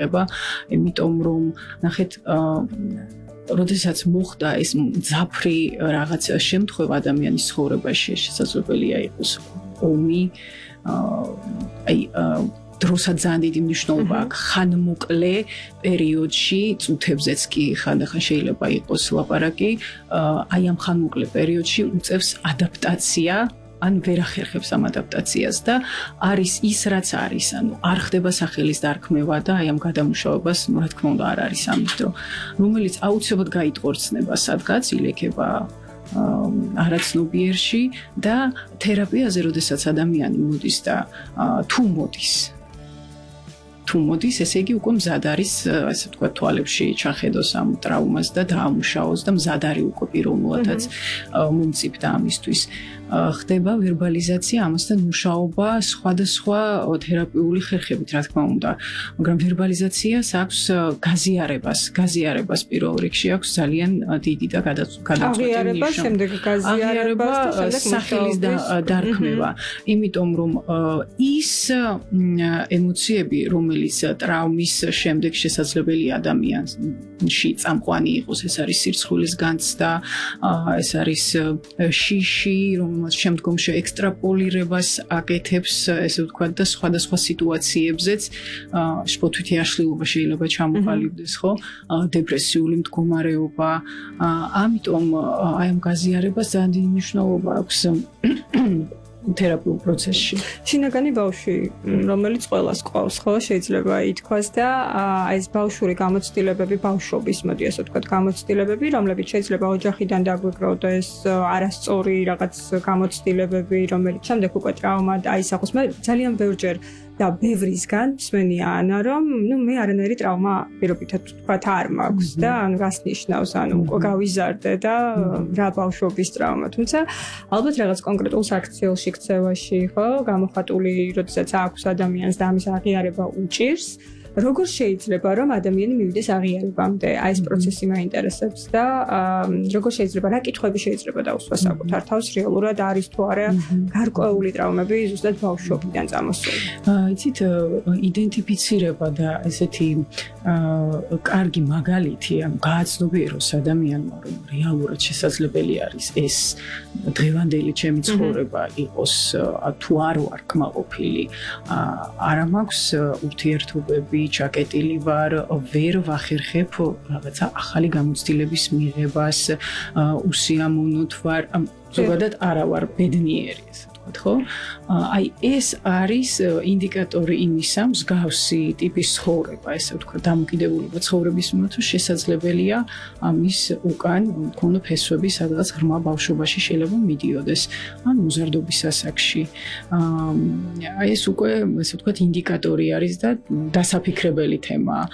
ხება, იმიტომ რომ ნახეთ როდესაც მოხდა ეს მძაფრი რაღაც შემთხვევა ადამიანის ცხოვრებაში, შესაძლებელია იყოს ომი, დროსაც ძალიან დიდი მნიშვნელობა აქვს ხანმოკლე პერიოდში, წუთებზეც კი ხანდახან შეიძლება იყოს ლაპარაკი, აი ამ ხანმოკლე პერიოდში უწევს ადაპტაცია, ან ვერ ახერხებს ამ ადაპტაციას და არის ის რაც არის, ანუ არ ხდება სახელის დარქმევა და აი ამ გადამუშავებას, რა თქმა უნდა, არ არის ამის დრო, რომელიც აუცილებლად გაიტყორცნება სადღაც, ილექება არაცნობიერში და თერაპიაზე, როდესაც ადამიანი მოდის და თუ მოდის, ესე იგი უკვე მზად არის, ასე ვთქვათ, თვალებში ჩახედოს ამ ტრავმას და დაამუშავოს და მზად არის უკვე პიროვნულადაც მომწიფდა ამისთვის. ხდება ვერბალიზაცია, ამასთან მუშაობა სხვადასხვა თერაპიული ხერხებით, რა თქმა უნდა, მაგრამ ვერბალიზაციას აქვს გაზიარებას პირველ რიგში აქვს ძალიან დიდი და გადაწყვეტილი ნიშანი. შემდეგ გაზიარება და სახელის დარქმევა, იმიტომ რომ ის ემოციები, რომელიც ტრაუმის შემდეგ შესაძლებელია ადამიანში წამყვანი იყოს, ეს არის სირცხვილის განცდა, ეს არის შიში, შემდგომში ექსტრაპოლირებას აკეთებს, ესე ვთქვათ, და სხვადასხვა სიტუაციებზეც შფოთვითი აშლილობა შეიძლება ჩამოყალიბდეს, ხო? დეპრესიული მდგომარეობა. ამიტომ აი ამ გაზიარებას ძალიან დიდი მნიშვნელობა აქვს თერაპიულ პროცესში. შინაგანი ბავშვი, რომელიც ყველას ყავს, ხო, შეიძლება ითქვას და ეს ბავშვური გამოცდილებები, ბავშვობის, მოდი ასე ვთქვათ, გამოცდილებები, რომლებიც შეიძლება ოჯახიდან დაგვიკროვდეს, არასწორი რაღაც გამოცდილებები, რომელიც შემდეგ უკვე ტრავმა აისახოს. მე ძალიან ბევრჯერ და ბევრისგან მსმენია ანა, რომ მე არანაირი ტრავმა პირობითად ვთქვათ არ მაქვს და ანუ რას ნიშნავს, ანუ უკვე გავიზარდე და რა ბავშვობის ტრავმა. თუმცა ალბათ რაღაც კონკრეტულ საქციელში ქცევაში, ხო, გამოხატული, როდესაც აქვს ადამიანს და ამის აღიარება უჭირს, როგორ შეიძლება რომ ადამიანი მივიდეს აღიარებამდე? აი ეს პროცესი მაინტერესებს და როგორ შეიძლება, რა კითხვები შეიძლება დაუსვა საკუთარ თავს, რეალურად არის თუ არა გარკვეული ტრავმები ზუსტად ბავშვობიდან წამოსული? იცით, იდენტიფიცირება და ესეთი კარგი მაგალითი, ანუ გააცნობიეროს ადამიანმა, რომ რეალურად შესაძლებელი არის ეს დღევანდელი ჩემი ცხოვრება იყოს თუ არ ვარ კმაყოფილი, არა მაქვს ურთიერთობები, ჩაკეტილი ვარ, ვერ ვახერხებ რაღაცა ახალი გამოცდილების მიღებას, უსიამოვნოდ ვარ, ზოგადად არა ვარ ბედნიერი, ესე ვთქვათ, ხო? აი ეს არის ინდიკატორი იმისა, მსგავსი ტიპის ცხოვრება, ესე ვთქვათ, დამოკიდებულება ცხოვრების მიმართ, რომ შესაძლებელია ამის უკან მქონო ფესვები სადღაც ღრმა ბავშვობაში შეიძლება მიდიოდეს, ან მოზარდობის ასაკში. აი ეს უკვე, ესე ვთქვათ, ინდიკატორი არის და დასაფიქრებელი თემაა.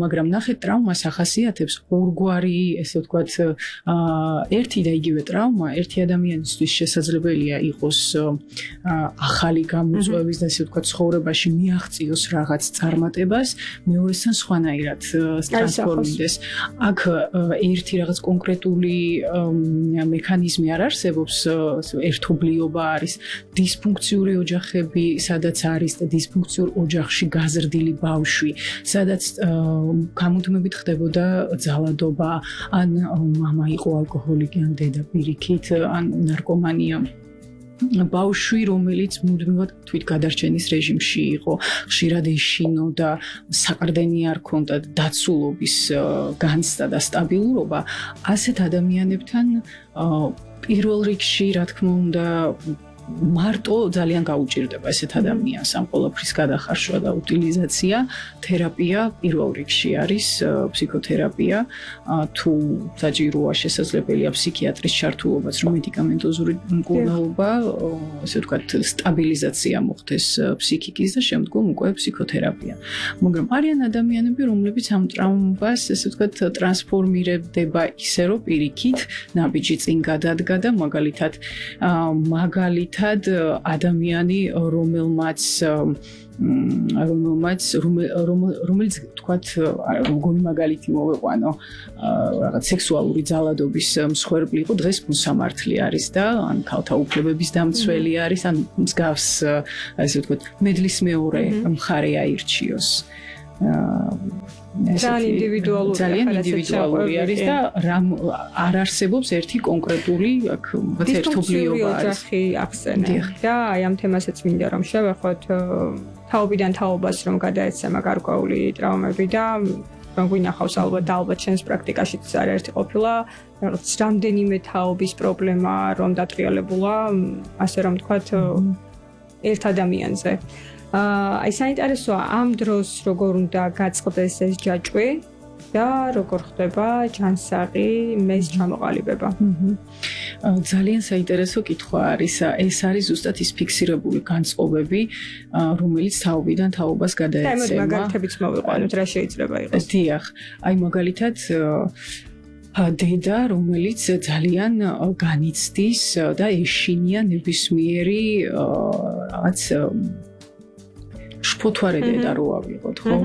მაგრამ ნახეთ, ტრავმას ახასიათებს ორგვარი, ესე ვთქვათ, ერთი და იგივე ტრავმა ერთი ადამიანისთვის შესაძლებელია იყოს ახალი გამოწვევის და ესე ვთქვათ, ცხოვრებაში მიაღწიოს რაღაც წარმატებას, მეორესთან სხვანაირად ტრანსფორმირდეს. აქ ერთი რაღაც კონკრეტული მექანიზმი არ არსებობს, ერთობლიობა არის, დისფუნქციური ოჯახები, სადაც არის და დისფუნქციურ ოჯახში გაზრდილი ბავშვი, სადაც გამუდმებით ხდებოდა ძალადობა, ან მამა იყო ალკოჰოლიკი, ან დედა პირიქით, ან ნარკომანია. ბავშვი, რომელიც მუდმივად თვითგადარჩენის რეჟიმში იყო, ხშირად ეშინოდა, საყრდენი არ ჰქონდა, დაცულობის განცდა და სტაბილურობა, ასეთ ადამიანებთან პირველ რიგში, რა თქმა უნდა, მარტო ძალიან გაუჭირდება ესეთ ადამიანს ამ ყველაფრის გადახარშვა და უტილიზაცია. თერაპია პირველ რიგში არის ფსიქოთერაპია, თუ საჭიროა შესაძლებელია ფსიქიატრის ჩართულობაც, რომ მედიკამენტოზური მკურნალობა, ასე ვთქვათ, სტაბილიზაცია მოხდეს ფსიქიკის და შემდგომ უკვე ფსიქოთერაპია. მაგრამ არიან ადამიანები, რომლებიც ამ ტრავმას, ასე ვთქვათ, ტრანსფორმირდება ისე, რომ პირიქით ნაბიჯი წინ გადადგა და მაგალითად ადამიანი, რომელიც თქვათ, როგორი მაგალითი მოვეყვანო, რაღაც სექსუალური ძალადობის მსხვერპლი იყო, დღეს მოსამართლე არის და ან ქალთა უფლებების დამცველი არის, ან მსგავს, ასე ვთქვათ, მედლის მეორე მხარე აირჩიოს. ძალიან ინდივიდუალური არის და რამ არ არსებობს ერთი კონკრეტული აქ ერთობლიობა არის. ოჯახი ახსენე და აი ამ თემასაც მინდა რომ შევეხოთ თაობიდან თაობას რომ გადაეცემა გარკვეული ტრავმები და რომ გვინახავს ალბათ ჩვენს პრაქტიკაშიც არაერთი ყოფილა რაღაც რამდენიმე თაობის პრობლემა რომ დატრიალებულა ასე რომ თქვათ ერთ ადამიანზე. აი საინტერესოა ამ დროს როგორ უნდა გაწყდეს ეს ჯაჭვი და როგორ ხდება ჯანსაღი მეს ჩამოყალიბება. ძალიან საინტერესო კითხვა არის. ეს არის ზუსტად ის ფიქსირებული განწყობები, რომელიც თაობიდან თაობას გადაეცემა. და მაგალითებიც მოვიყვანოთ, რა შეიძლება იყოს. დიახ, აი მაგალითად დედა, რომელიც ძალიან განიცდის და ეშინია ნებისმიერი რაღაც შფოთვარე დედა რო ავიღოთ, ხო?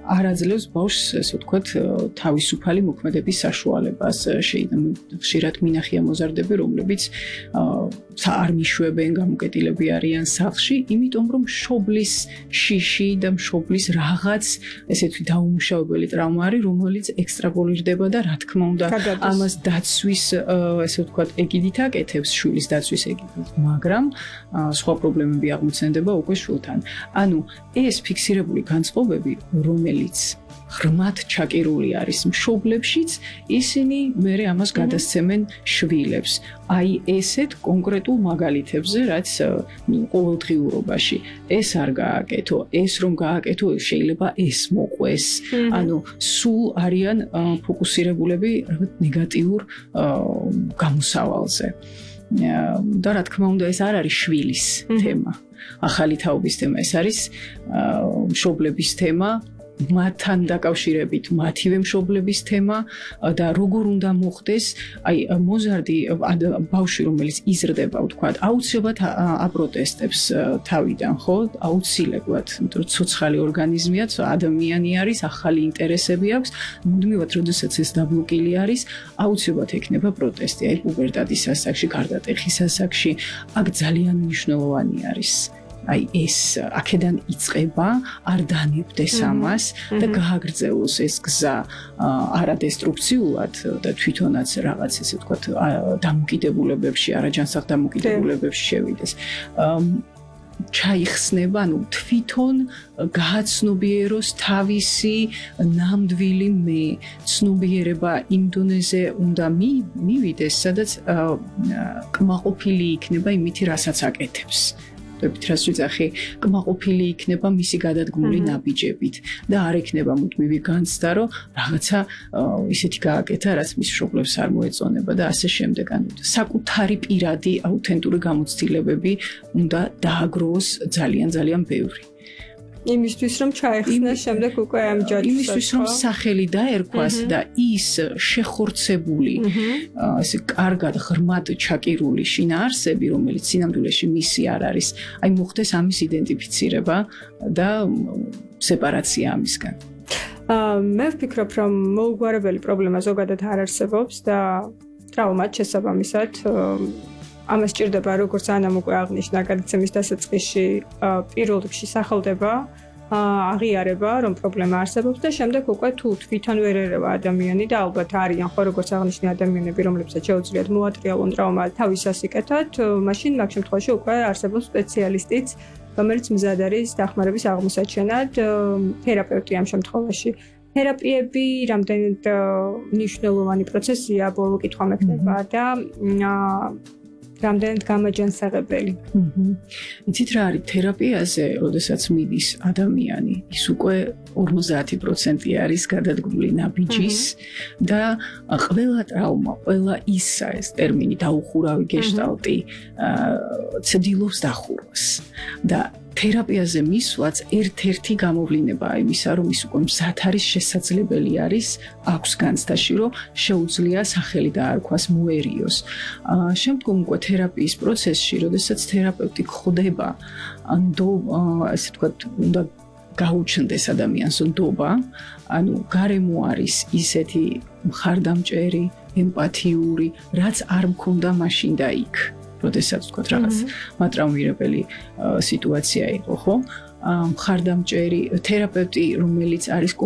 არ აძლევს ბავშვს, ესე ვთქვათ, თავისუფალი მოქმედების საშუალებას. ხშირად მინახია მოზარდები, რომლებიც არ მიშვებენ, გამოკეტილები არიან სახლში, იმიტომ რომ მშობლის შიში და მშობლის რაღაც ესეთი დაუმუშავებელი ტრავმა არის, რომელიც ექსტრაპოლირდება და რა თქმა უნდა, ამას დაცვის, ესე ვთქვათ, ეგიდით აკეთებს, შვილის დაცვის ეგიდით, მაგრამ სხვა პრობლემები აღმოცენდება უკვე შვილთან. ანუ ეს ფიქსირებული განწყობები, რომელიც ღრმად ჩაკერული არის მშობლებშიც, ისინი მერე ამას გადასცემენ შვილებს. აი ესეთ კონკრეტულ მაგალითებზე, რაც ყოველდღიურობაში ეს არ გააკეთო, ეს რომ გააკეთო, შეიძლება ეს მოყვეს. ანუ სულ არიან ფოკუსირებულები რაღაც ნეგატიურ გამოსავალზე. და რა თქმა უნდა, ეს არ არის შვილის თემა. ახალი თაობის თემა, ეს არის მშობლების თემა. მათთან დაკავშირებით მათივე მშობლების თემა და როგორ უნდა მოხდეს აი მოზარდი ბავშვი რომელიც იზრდება ვთქვათ აუცილებლად აპროტესტებს თავიდან ხო აუცილებლად იმიტომ რომ ცოცხალი ორგანიზმია ადამიანი არის ახალი ინტერესები აქვს მუდმივად როდესაც ეს დაბლოკილი არის აუცილებლად ექნება პროტესტი აი პუბერტადის ასაკში გარდატეხის ასაკში აქ ძალიან მნიშვნელოვანი არის აი ეს აქედან იწყება არ დანებდეს ამას და გააგრძელოს ეს გზა არადესტრუქციულად და თვითონაც რაღაც ესე ვთქვათ დამოკიდებულებებში არაჯანსაღ დამოკიდებულებებში შევიდეს ჩაიხსნება, ანუ თვითონ გააცნობიეროს თავისი ნამდვილი მე, ცნობიერება იმ დონეზე უნდა მივიდეს, სადაც კმაყოფილი იქნება იმით, რასაც აკეთებს. რას ვიძახი, კმაყოფილი იქნება მისი გადადგმული ნაბიჯებით და არ ექნება მუდმივი განცდა, რომ რაღაცა ისეთი გააკეთა, რაც მის მშობლებს არ მოეწონება და ასე შემდეგ. ანუ საკუთარი პირადი აუთენტური გამოცდილებები უნდა დააგროვოს ძალიან ბევრი. იმისთვის რომ ჩაეხსნას შემდეგ უკვე ამ ჯაჭვს იმისთვის რომ სახელი დაერქვას და ის შეხორცებული ესე კარგად ღრმად ჩაკირული შინაარსები რომელიც სინამდვილეში მისი არ არის აი მოხდეს ამის იდენტიფიცირება და სეპარაცია ამისგან მე ვფიქრობ რომ მოუგვარებელი პრობლემა ზოგადად არ არსებობს და ტრავმად შესაბამისად ამას ჭირდება როგორც ანამ უკვე აღნიშნა გადაცემის დასაწყისში პირველ რიგში სახელდება აღიარება რომ პრობლემა არსებობს და შემდეგ უკვე თუ თვითონ ვერ ერევა ადამიანი და ალბათ არიან ხო როგორც აღნიშნე ადამიანები რომლებსაც შეუძლიათ მოატრიალონ ტრავმა თავის ასიკეთად მაშინ მაგ შემთხვევაში უკვე არსებობს სპეციალისტიც რომელიც მზად არის დახმარების აღმოსაჩენად თერაპევტი ამ შემთხვევაში თერაპიები რამდენად მნიშვნელოვანი პროცესია ბოლო კითხვა მექნება და რამდენად გამაჯანსაღებელი. იცით რა არის თერაპიაზე, როდესაც მიდის ადამიანი, ის უკვე 50% არის გადადგმული ნაბიჯის და ყველა ტრავმა, ყველა ისა ეს ტერმინი დაუხურავი გეშტალტი ცდილობს დახურვას. და თერაპიაზე მისვლაც ერთ-ერთი გამოვლინებაა იმისა, რომ ის უკვე მზად არის შესაძლებელი არის აქვს განცდაში, რომ შეუძლია სახელი დაარქვას მოერიოს. შემდგომ უკვე თერაპიის პროცესში, როდესაც თერაპევტი ხდება, ასე ვთქვათ, უნდა გაუჩნდეს ადამიანს ნდობა, ანუ გარემო არის ისეთი მხარდამჭერი, ემპათიური, რაც არ მქონდა მაშინ და იქ. როდესაც ვთქვათ რაღაც მატრაუმირებელი სიტუაცია იყო, ხო? მხარდამჭერი თერაპევტი, რომელიც არის